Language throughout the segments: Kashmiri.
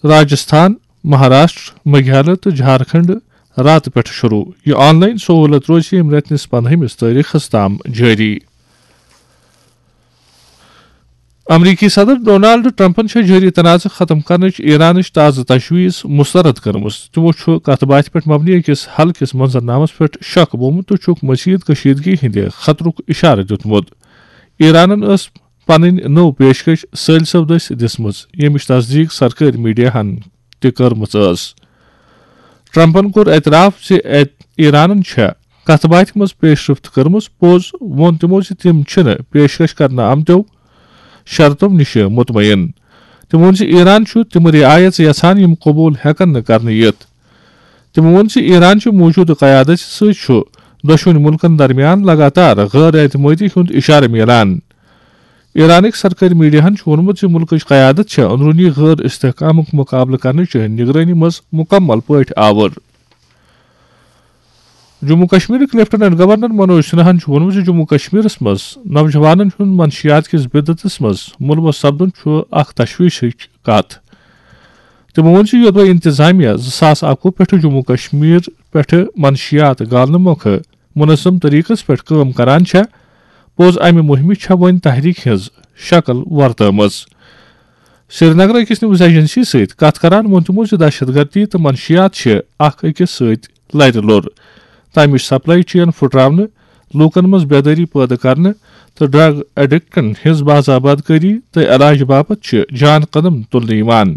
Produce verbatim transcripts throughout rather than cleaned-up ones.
راجستھان، مہاراشٹر، میگھالیہ تہٕ جھارکھنڈ راتہٕ پٮ۪ٹھٕ شروٗع۔ یہِ آن لائن سہوٗلت روزِ ییٚمہِ رٮ۪تہٕ نِس پندہمِس تٲریخس تام جٲری۔ امریکی صدر ڈونالڈ ٹرمپن چھےٚ جٲری تنازٕ ختم کرنٕچ ایرانٕچ تازٕ تجویز مسترد کٔرمٕژ۔ تِمو چھُ کتھ باتھِ پٮ۪ٹھ مبنی أکِس حل کِس منظرنامس پٮ۪ٹھ شک بومُت تہٕ چھُکھ مزید کشیدگی ہٕنٛدِ خطرُک اشارٕ دیُتمُت۔ ایرانن ٲس پنٕنۍ نٔو پیشکش سٲلۍ صٲب دٔسۍ دِژمٕژ، ییٚمِچ تصدیق سرکٲرۍ میڈیاہن تہِ کٔرمٕژ ٲس۔ ٹرمپن کوٚر اعتراف زِ ایرانن چھےٚ کتھ باتھِ منٛز پیش رفت کٔرمٕژ۔ پوٚز ووٚن تِمو زِ تِم چھِنہٕ پیشکش کرنہٕ آمتیو شرطو نِش مطمئن۔ تِمو ووٚن زِ ایران چھُ تِم رعایژ یژھان یِم قبول ہٮ۪کن نہٕ کرنہٕ یِتھ۔ تِمو ووٚن زِ ایران چہِ موجودٕ قیادت سۭتۍ چھُ دۄشوٕنی مُلکن درمیان لگاتار غٲر اعتمٲدی ہُنٛد اشارٕ میلان۔ ایرانٕکۍ سرکٲرۍ میڈیاہن چھُ ووٚنمُت زِ مُلکٕچ قیادت چھےٚ اندروٗنی غٲر استحکامُک مُقابلہٕ کرنٕچ نگرٲنی منٛز مُکمل پٲٹھۍ آوُر۔ جموں کشمیرٕکۍ لیفٹیننٹ گورنر منوج سنہاہن چھُ ووٚنمُت زِ جموں کشمیرس منٛز نوجوانن ہُنٛد منشیات کِس بدعتس منٛز ملوث سپدُن چھُ اکھ تشویشٕچ کتھ۔ تِمو ووٚن زِ یوٚدوے انتظامیہ زٕ ساس اکوُہ پٮ۪ٹھٕ جموں کشمیر پٮ۪ٹھٕ منشیات گالنہٕ مۄکھٕ منظم طریقس پٮ۪ٹھ کٲم کران چھےٚ، پوٚز امہِ مُہِمہِ چھےٚ وۄنۍ تحریک ہٕنٛز شکل ورتٲومٕژ۔ سرینگر أکِس نیوز ایجنسی سۭتۍ کتھ کران ووٚن تِمو زِ دہشت گردی تہٕ منشیات چھِ اکھ أکِس سۭتۍ لرِ لوٚر۔ تمِچ سپلائی چین پھُٹراونہٕ، لوٗکن منٛز بیدٲری پٲدٕ کرنہٕ تہٕ ڈرگ ایڈکٹن ہٕنٛز باضابطہ کٲری تہٕ علاج باپتھ چھِ جان قدم تُلنہٕ یِوان۔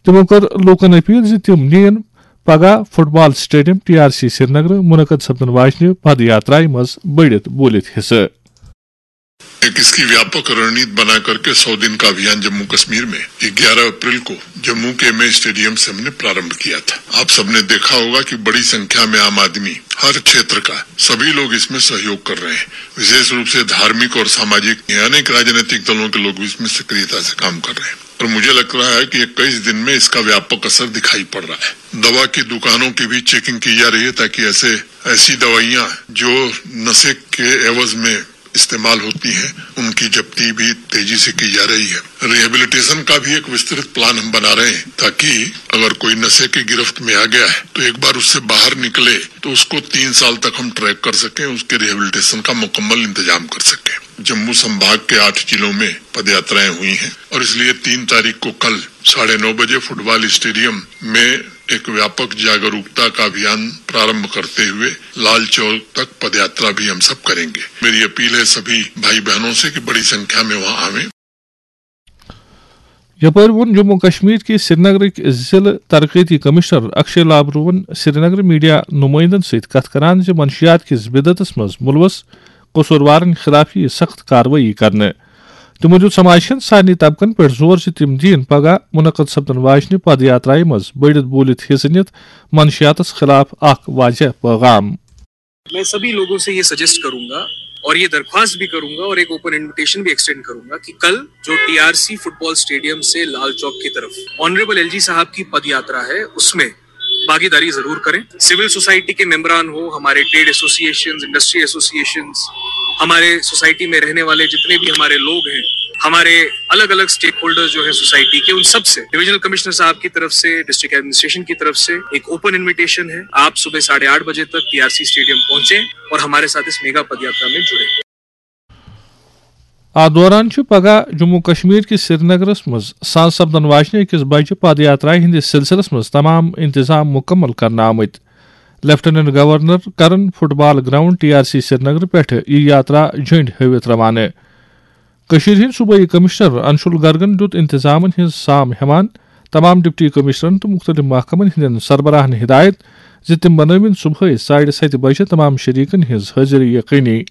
تِمو کٔر لوٗکن اپیل زِ تِم نِیِن پگاہ football stadium T R C Srinagar منعقد سپدن واجنہِ پد یاترایہِ منٛز بٔڑِتھ بوٗلِتھ حصہٕ۔ एक इसकी व्यापक रणनीति बना करके सौ दिन का अभियान जम्मू कश्मीर में ग्यारह अप्रैल को जम्मू के एमए स्टेडियम से हमने प्रारंभ किया था। आप सबने देखा होगा कि बड़ी संख्या में आम आदमी, हर क्षेत्र का, सभी लोग इसमें सहयोग कर रहे हैं। विशेष रूप से धार्मिक और सामाजिक, अनेक राजनीतिक दलों के लोग भी इसमें सक्रियता से काम कर रहे हैं। और मुझे लग रहा है कि इक्कीस दिन में इसका व्यापक असर दिखाई पड़ रहा है। दवा की दुकानों की भी चेकिंग की जा रही है, ताकि ऐसे, ऐसी दवाइयां जो नशे के एवज में इस्तेमाल होती हैं, उनकी जब्ती भी तेजी से की जा रही है। रिहेबिलिटेशन का भी एक विस्तृत प्लान हम बना रहे हैं, ताकि अगर कोई नशे की गिरफ्त में आ गया है, तो एक बार उससे बाहर निकले, तो उसको तीन साल तक हम ट्रैक कर सकें, उसके रिहेबिलिटेशन का मुकम्मल इंतजाम कर सकें। जम्मू संभाग के आठ जिलों में पदयात्राएं हुई हैं और इसलिए तीन तारीख को कल साढ़े नौ बजे फुटबॉल स्टेडियम में एक व्यापक जागरूकता का अभियान प्रारंभ करते हुए लाल चौक तक पदयात्रा भी हम सब करेंगे। मेरी अपील है सभी भाई बहनों से कि बड़ी संख्या में वहां आवें। یپٲرۍ ووٚن جموں کشمیر کہِ سرینگرٕکۍ ضلعہٕ ترقیتی کمشنر اکشے لابروہن سرینگر میڈیا نمٲیندن سۭتۍ کتھ کران زِ منشیات کِس بدعتس منٛز ملوث قصوٗروارن خلاف یِیہِ سخت کاروٲیی کرنہٕ۔ تِمو دیُت سماج کٮ۪ن سارنٕے طبقن پٮ۪ٹھ زور زِ تِم دِیِن پگاہ منعقد سپدن واجنہِ پد یاترایہِ منٛز بٔڑِتھ بوٗلِتھ حصہٕ نِتھ منشیاتس خلاف اکھ واضح پیغام۔ میں سبھی لوگوں سے یہ سجیسٹ کروں گا اور یہ درخواست بھی کروں گا اور ایک اوپن انویٹیشن بھی ایکسٹینڈ کروں گا کہ کل جو ٹی آر سی فٹ بال اسٹیڈیم سے لال چوک کی طرف آنریبل ایل جی صاحب کی پد یاترا ہے، اس میں بھاگیداری ضرور کریں۔ سول سوسائٹی کے ممبران ہو، ہمارے ٹریڈ ایسوسی ایشنز، انڈسٹری ایسوسی ایشنز، ہمارے سوسائٹی میں رہنے والے جتنے بھی ہمارے لوگ ہیں، ہمارے الگ الگ اسٹیک ہولڈر جو ہیں سوسائٹی کے، ان سب سے ڈویژنل کمشنر صاحب کی طرف سے، ڈسٹرکٹ ایڈمنسٹریشن کی طرف سے ایک اوپن انویٹیشن ہے۔ آپ صبح ساڑھے آٹھ بجے تک ٹی آر سی اسٹیڈیم پہنچیں اور ہمارے ساتھ اس میگا پد یاترا میں جڑیں۔ اتھ دوران چھُ پگاہ جموں کشمیر کِس سرینگرس منٛز ساز سپدن واجنہِ أکِس بجہِ پد یاترایہِ ہٕنٛدِس سلسلس منٛز تمام انتظام مُکمل کرنہٕ آمٕتۍ۔ لیفٹیننٹ گورنر کرن football ground T R C Srinagar پٮ۪ٹھٕ یہِ یاترا جھنڈ ہٲوِتھ روانہٕ۔ کٔشیٖرِ ہٕنٛدۍ صوبٲئی کمشنر انشول گرگن دیُت انتظامن ہٕنٛز سام ہٮ۪وان تمام ڈپٹی کمشنرن تہٕ مُختٔلِف محکمن ہٕنٛدٮ۪ن سربراہن ہدایت زِ تِم بنٲوِن صبحٲے ساڑِ ستہِ بجہِ تمام شریکن ہٕنٛز حٲضری یقینی۔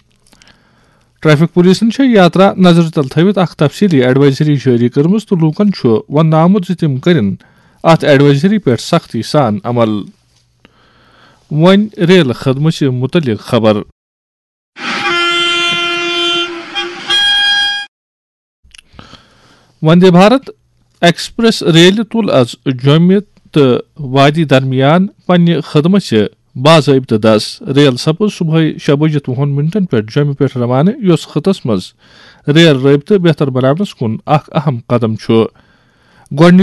ٹریفک پولیسن چھےٚ یاترا نظرِ تل تھٲوِتھ اکھ تفصیلی ایڈوائزری جٲری کٔرمٕژ تہٕ لوٗکن چھُ وننہٕ آمُت زِ تِم کٔرِن اتھ ایڈوائزری پٮ۪ٹھ سختی سان عمل۔ وۄنۍ ریل خدمژِ مُتعلق خبر۔ وندے بھارت ایکسپریس ریلہِ تُل از جوٚمہِ تہٕ وادی درمیان پننہِ خدمژِ باضٲبطہٕ دس۔ ریل سپٕز صبحٲے شےٚ بجہِ تہٕ وُہن منٹن پٮ۪ٹھ جوٚمہِ پٮ۪ٹھ روانہٕ، یۄس خطس منٛز ریل رٲبطہٕ بہتر بناونس کُن اکھ اہم قدم چھُ۔ گۄڈٕنِچ